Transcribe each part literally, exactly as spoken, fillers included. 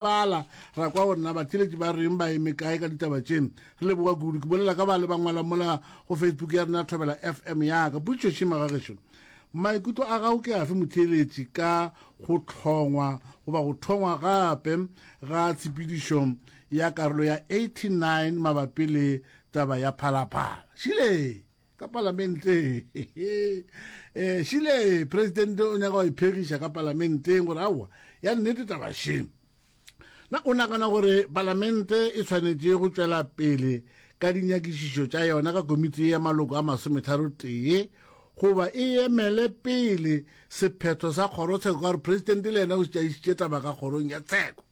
Bala ra kwa gore na batheeletši ba reng ba eme kae ka ditaba tše. Re leboga kudu. Ke bolela ka ba le ba ngwala mola go Facebook ya rena Thobela F M ya ka. Potšišo šima ga gešo. Maikutlo a gago ke afe motheeletši ka go hlongwa goba go thongwa gape ga tshepedišo ya karolo ya eighty-nine mabapi le taba ya Phalaphala? Šile ka palamenteng. Eh šile president o nyaka go iphegiša ka palamenteng gore aowa ya nnete taba še. Na o nagana gore palamente e tshwanetše go tšwela pele ka dinyakišišo tša yona ka komiti ya maloko a masometharo tee goba e emele pele sephetho sa kgorotsheko, ka gore president le yena o šetše taba ka kgorong ya tsheko?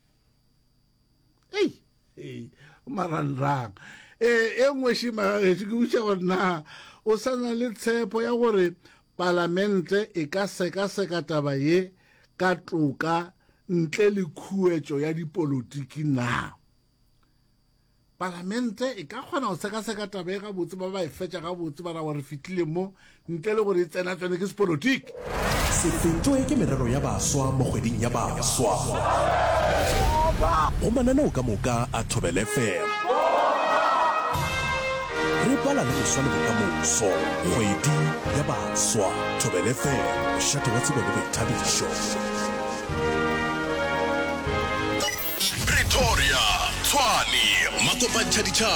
Ei, ei, marangrang. E e nngwe šima ke botša gore na o sa na le tshepo ya gore palamente e ka sekaseka taba ye ka toka ntle le khuetšo ya dipolotiki na? Palamente e ka kgona go sekaseka taba e gabotse, ba ba e fetša gabotse, ba ra wa re fitlile mo ntle le gore e tsena tsene ke sepolotiki? Se fetšwe ke merero ya baswa mo kgweding ya baswa go mananeo ka moka a Thobela F M. Re bala le moswa le bokamoso. Kgwedi ya baswa. Thobela F M, mošate wa tsebo le boithabišo. Pretoria, Tshwane, makopantšha ditšhaba.